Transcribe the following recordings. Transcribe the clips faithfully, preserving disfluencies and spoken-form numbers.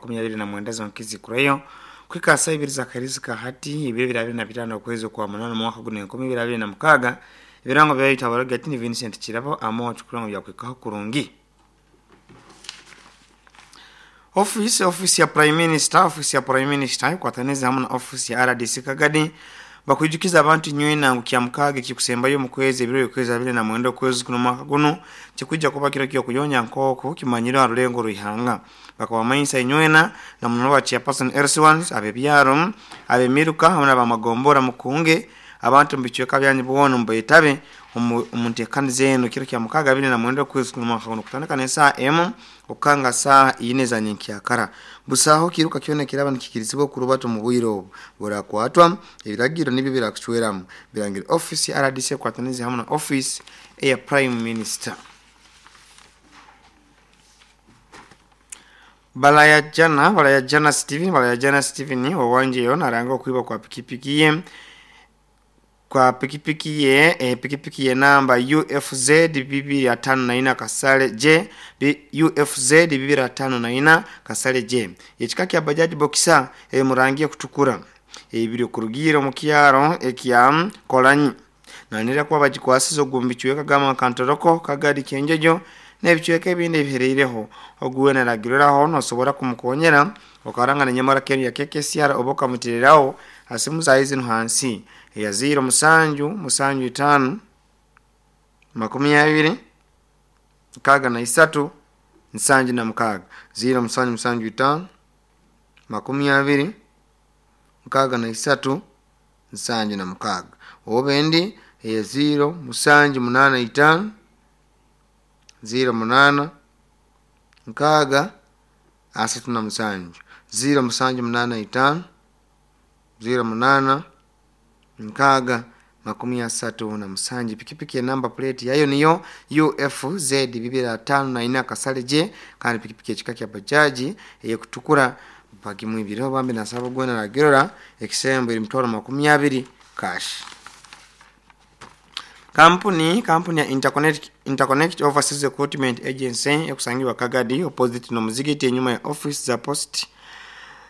Makumi abiri na mwenda zonkizi kurayo kwika saa ibiri za karizika hati ibiri bibiri abiri na bitano okwezi kwa munana mwaka guno enkumi ibiri abiri na mukaaga. Ebirango byayita abarogati ni Vincent Kirabo amo tukurango byakwikaho kurungi. Office office ya Prime Minister office ya Prime Minister kwataneza hamwe na office ya R D C Kagadi bakujukiza abantu nywena ngu mukaaga kikusembayo mu kwezi ebiro yokwezi abiri na mwenda okwezi kuno mwaka guno kikujja kuba kiro kyo kuyonya nkoko kimanyiro arulengo ruihanga bakabamanyisa inywena na muno wa chairperson R C one abebyaro abemiruka hamwe n'abamagombora mukunge abantu mbichweka byanyu bwono mbayitabe omuntekani zenu kiro kya mukaaga abiri na mwenda okwezi kuno mwaka guno kutandika ne saa emu okanga saa ine za nyenkyakara. Busaho kiruka kyona kiraba nikikirizibwa okurubato mu bwire obu burakwatwa ebiragiro nibyo birakucweramu birangira office ya R D C kwataniza hamwe na office ya Prime Minister. Balaya jana balaya jana Steven balaya jana Steven wawanjeyo naranga okuiba kwa pikipiki ye kwa pikipiki ye eh, pikipiki ye namba U F Z bibiri atano na ina kasale J B, U F Z bibiri atano na ina kasale J ekika kya bajaji boxer e murangiye kutukura ebiri kurugira mu kyaro ekya kolanyi nanira kuba bagikwasizo gumbichweka gama kantoroko Kagadi Kyenjojo n'ebichweka ebindi ebihereireho oguwe naragiriraho nosobora kumukonyera okaranga nenyamara Kenya ya K K C R oboka mutiriraho asimu za hizi hansi ya zero musanju musanju itano makumi abiri mkaga na isatu nsanju na mkaga zero musanju musanju itano makumi abiri mkaga na isatu nsanju na mkaga obendi ya zero musanju munana itano zero munana mkaga asatu na musanju zero musanju munana itano zero munana nkaga makumi asatu na musanju. Pikipiki ya namba plate yayo niyo U F Z bibiri atano na ina kasale J kandi pikipiki ekika kya bajaji eyekutukura bagimwibiro bambi nasaba gwena ragirora ekisembo eri mutwaro makumi abiri cash. Kampuni kampuni ya Interconnect Interconnect Overseas Recruitment Agency ekusangiwa Kagadi opposite no muzigiti enyuma ya office za post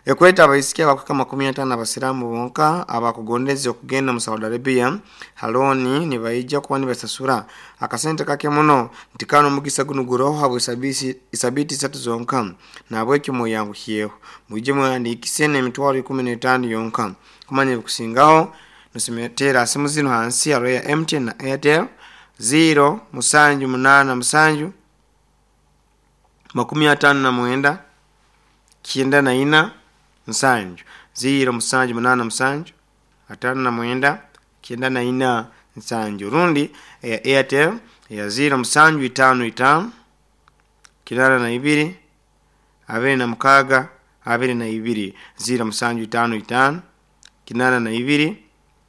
ekweta abaisikia bakweka makumi atano abasiramu bonka abakugondeze okugenda mu Saudi Arabia haloni nibaija kuba nibasasura akasente kake muno nti kano omugisa guno guroho habwe sabisi isabiti isatu zonka nabwekyo muyanguhyeho muje mwandikise n'emitwaro ikumi n'etaano yonka kumanya ebikusingaho nusimetera asimu zino hansi ya Royal M T N na Airtel zero musanju munana musanju makumi atano na mwenda kyenda na ina nsanju zero musanju munana musanju atano na mwenda kyenda na ina nsanju rundi ya Airtel ya zero musanju itano itano kinana na ibiri abiri na mukaga abiri na ibiri zero musanju itano itano kinana na ibiri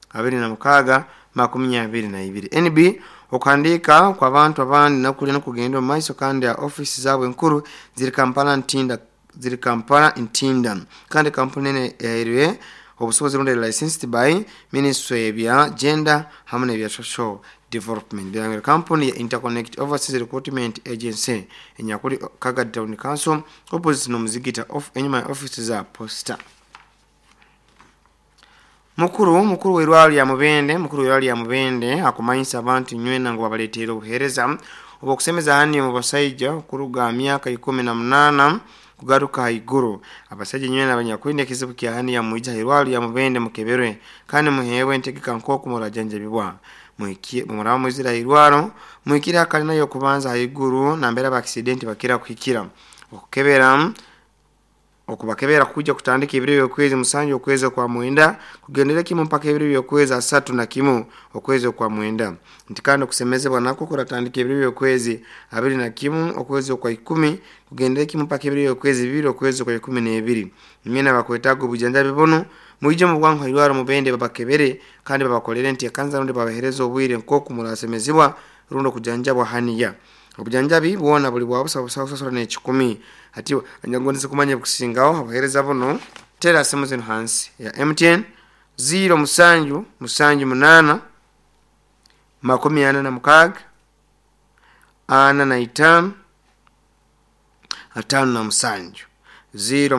abiri na mukaga makumi abiri na ibiri. N B okuhandika kwa bantu abandi nakuli nokugenda mu maiso kandi ya office zaabwe enkuru ziri Kampala Ntinda ziri Kampala Ntinda kandi kampuni ene yairwe obusobozi rundi licensed by Ministry ebya Gender hamwe n'ebya Social Development. Birangiro kampuni ya Interconnect Overseas Recruitment Agency enyakuli Kagadi Town Council opposite no muzigita of enyuma ya office za posta. Mukuru mukuru w'irwaliro ya Mubende mukuru w'irwaliro ya Mubende akumanyisa abantu nywena ngo babaleetera obuheereza obw'okusemeza hani mu basajja okuruga myaka ikumi na munana kugaruka haiguru. Abasajja nywena abanyakwenda ekizibu kya hani ya mwija irwaliro ya Mubende mukeberwe kandi muheebwe entegeka nk'oku murajanjabibwa. Muhikie muraba mwizira irwaro muhikire akalina y'okubanza haiguru nambere aba accident bakira kuhikira okukebera okubakebera kuja kutandika ebiro by'okwezi musanju okwezi kwa mwenda kugendera kimu mpaka ebiro by'okwezi asatu na kimu okwezi kwa mwenda nti kandi okusemezebwa nako kuratandika ebiro by'okwezi abiri na kimu okwezi kwa ikumi kugendera kimu mpaka ebiro by'okwezi bibiri okwezi kwa ikumi n'ebiri. Nyina bakwetaaga obujanjabi buno mwije mu bwangu irwaro Mubende babakebere kandi babakolere nti ekanza rundi babahereza obwire nk'oku murasemezebwa rundi okujanjabwa haniya. Obujanjabi bwona buli bwa busa busa busasura n'ekikumi ati anyagondese kumanya bukusingaho abahereza buno tera simu zino hansi ya M T N zero musanju musanju munana makumi ana na mukaaga ana na itaano atano na musanju zero